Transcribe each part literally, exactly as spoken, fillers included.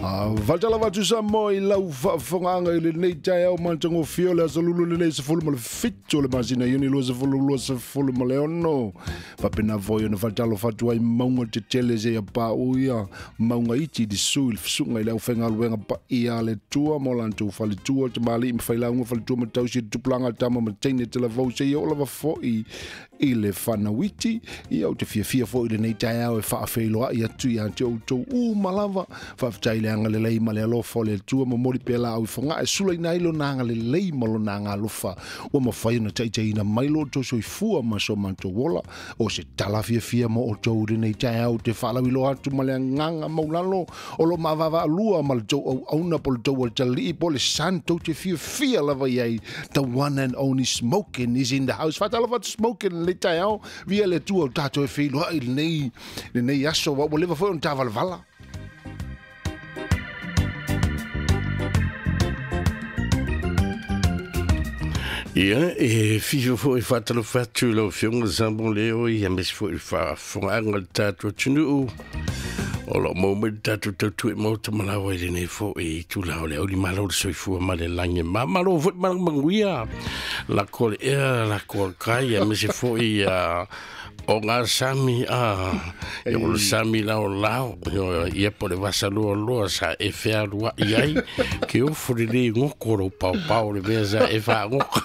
Faatalofa atu Samoa i lau faafofogaaga i lenei taeao matagofie o le aso lulu lenei sefulu ma le fitu o le masina Iuni lua sefulu lua sefulu ma le ono. Faapena foi ona faatalofa atu ai mauga tetele seia paʻu ia mauga iti i lisu i le fesuga i le aufaigaluega paia a le Atua ma o latou faletua, tamalii ma failauga, faletua ma tausi, le tupulaga, tama ma teine talavou seia oo lava foi i le fanauiti. Ia ou te fiafia foi i lenei taeao e faafeiloai atu ia te outou uma lava. Faafetai le agalelei ma le alofa o le Atua, momoli pea laau i fogaa e sulaina ai lona agalelei ma lona agalofa ua mafai ona taitaiina mai lo outou soifua ma so matou ola. O se tala fiafia mo outou i lenei taeao te faalauiloa atu ma le agaga maulalo o lo maavaavaalua ma le tou auauna po le tou alitalii po le san tou te fiafia lava i ai. The one and only Smokin is in the house. Faatalofa atu Smokin lenei taeao, via le Atua o tatou e feiloai lenei lenei aso ua ua leva foi ona tavalavala. Ia, e fifo foi faatalofa atu i lau Afioga Samoa Leo, ia aemaise foi i le faafofogaaga a le tatou atunuu o loo maua mai le tatou tautua i maota ma laua i lenei foi itula o le aulimalo o le soifua ma le lagi e mamalo foi malamaguia lako le ea lako le kai aemaise foi ia o ngā sami a ia o le sami lao lao ia po le vasa lua loa sa e fea lua i ai ke ofo le le ngoko lo pau pau le mea sa e wha ngoko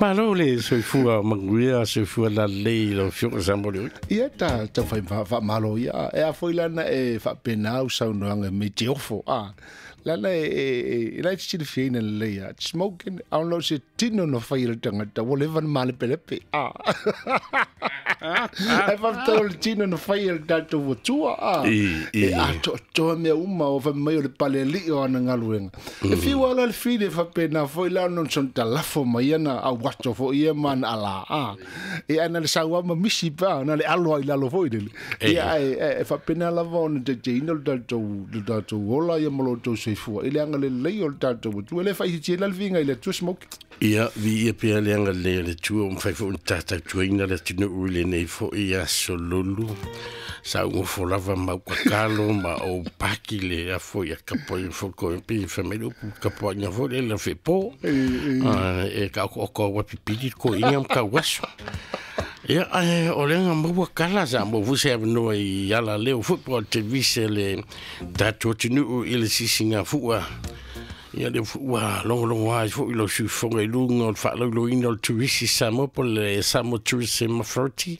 malo le soifua manuia soifua la lei lau Afioga Samoa Leo. Ia ta tau whai wha malo ia e a foi lana e whaapenau saunoanga me te ofo a lana e e lai silafia lelei a Smokin auna o se tino na fai le tagata ua leva na malepelepe a ae faafetai o le tino na fai le tatou atua a e atoatoa mea uma o faimai o le palealii o ana galuega e fiu ala le fili e faapena foi la ona sona talafo mai ana auato foi ia ma ana alā a e ana le sauā ma misi pa na le alo ai lalo foi lele ia ae e faapena lava ona taitaiina le tatou le tatou ola ia ma lo outou soifua i le agalelei o le tatou atua e le faaitiitia la le viiga i le Atua Smoke. Ia, viia pea le agalelei o le Atua ua mafai foi ona tatautuaina le atunuu i lenei foi aso lulu. Sa ugofo lava ma ukakalo ma ou paki le afo ia kapo i foko i pi whamai upu kapo ina foi le la fepo. E ka oko oko wapipili ko inga mka waso. Ia, ae, o lenga maua kala sa mo fuse avanoa i ala leo football televise le tatou atunuu i le sisinga fua. Ia le fua longolongo ai foi lau sufoga i luga o le faalauiloina o le Turisi Samoa po le Samoa Tourism Authority.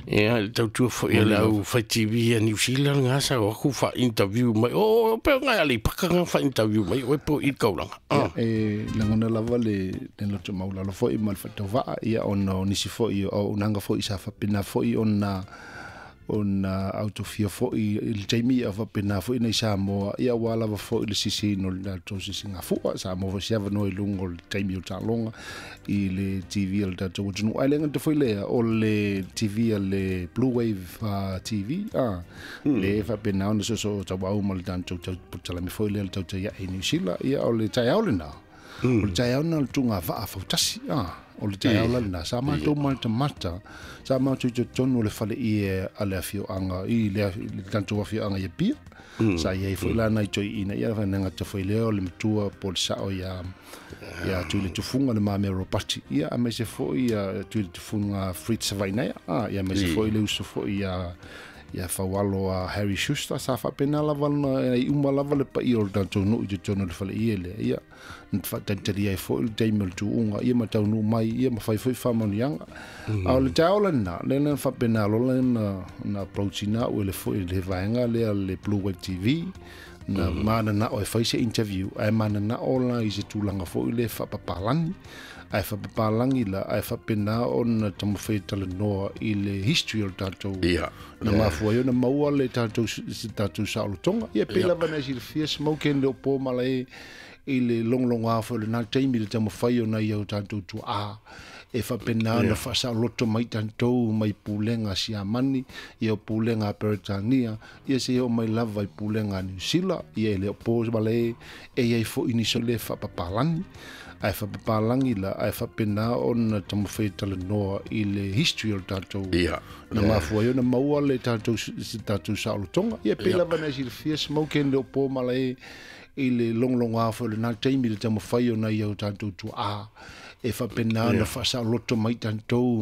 Ia le tautua foi a le au fai T V a New Zealand ngā sa o aku wha-interview mai. O, o peo ngai ale paka ngā wha-interview mai, o e po i kaulanga. Ia, e lagona lava le le loto maulalo foi ma le faatauvaa ia ona o nisi foi o unaga foi sa faapena foi ona ona autofia foi i le taimi ia faapena foi nei Samoa ia ua lava foi le sisino le tatou sisigafua Samoa foi se avanoa i luga o le taimi o taaloga i le T V a le tatou atunuu ae le gata foi lea o le T V a le Blue Wave uh, T V a le faapena ona soosoo tauau ma le tatou talami foi lea le tautaiae i New Zealand ia o le taeao lenā o le taeao na le tugavaa fautasi a o le taeao la lena sa matou matamata sa matou i totonu o le fale ie a le afioaga i le tatou afioaga i Apia sa iai foi lana i toeaina ia faanagata foi lea o le matua po le sao ia ia tui le tufuga le mamea Robati ia aemaise foi ia tui le tufuga Fritz Savainaia a ia aemaise foi le uso foi ia ia faualo a Harry Schuster sa faapena lava na i uma lava le paia o le tatou nuu i totonu o le fale ie lea ia na faatalitali ai foi le taimi o le tuuga ia ma taunuu mai ia ma fai foi faamanuiaga a o le taeao lena lea na faapena lola na na approachina au e le foi le vaega lea le Blue Wave T V na mananao e fai se interview ae mananao la i se tulaga foi le faapapalagi ae faapapalagi la ae faapena ona taumafai e talanoa i le history o le tatou na mafua ai ona maua le tatou se tatou saolotoga ia pei lava na e silafia Smokin le o po malae i le logologoa foi o lenā taimi le taumafai ona ia o tatou tuaa E faapena ona faasaoloto mai tatou mai pulega a Siamani, ia o pulega a Peretania, ia seia oo mai lava i pulega a Niusila. Ia e le o po malae e iai foʻi nisi o le faapapalagi ae faapapalagi la ae faapena ona taumafai e talanoa i le history o le tatou Ia. na mafua ai ona maua le tatou se tatou saolotoga. Ia pei lava na e silafia Smoke le o po malae i le logologoa foi o lena taimi le taumafai ona ia o tatou tuaa e faapena ona faasaoloto mai tatou.